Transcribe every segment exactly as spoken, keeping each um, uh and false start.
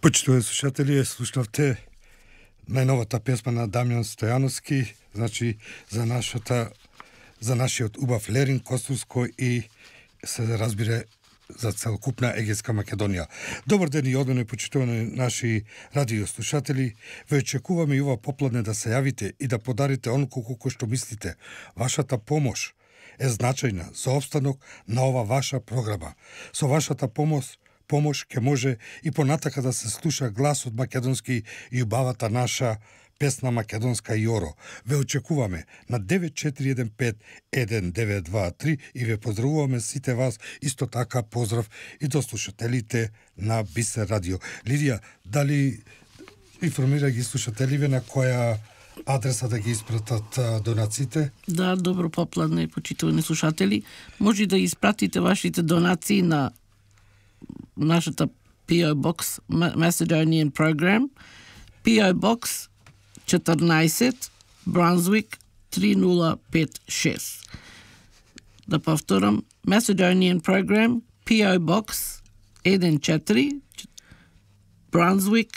Почитувани слушатели, слушнавте најновата песма на Дамјан Стојановски, значи за нашата за нашиот убав Лерин Костурско и се разбира за целокупна Егејска Македонија. Добар ден и одмено почитувани наши радиослушатели. Ве очекуваме и ова попладне да се јавите и да подарите онолку кој што мислите. Вашата помош е значајна за опстанок на ова ваша програма. Со вашата помош помош ќе може и понатака да се слуша гласот македонски и убавата наша песна македонска Јоро. Ве очекуваме на девет четири еден пет еден девет два три и ве поздравуваме сите вас, исто така поздрав и до слушателите на Бисер радио. Лидија, дали информира ги слушателиве на која адреса да ги испратат донациите? Да, добро попладне, почитувани слушатели. Може да испратите вашите донации на нашата Пи О Box Macedonian Program, Пи О Box четрнаесет, Brunswick три нула пет шест. Да повторам, Macedonian Program, Пи О Box еден четири, Brunswick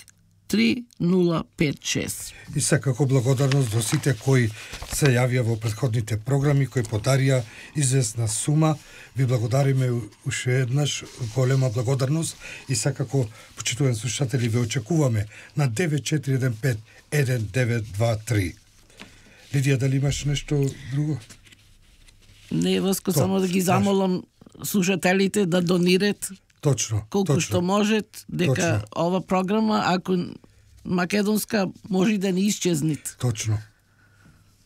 три нула пет шест. И секако благодарност до сите кои се јавија во претходните програми, кои подарија известна сума. Ви благодариме уште еднаш, голема благодарност и секако, почитувани слушатели, ве очекуваме на девет четири еден пет еден девет два три. Лидија, дали имаш нешто друго? Не, Васко, само да ги замолам слушателите да донират Точно, колку точно. што можат, дека Точно. ова програма, ако македонска, може да не исчезнит. Точно.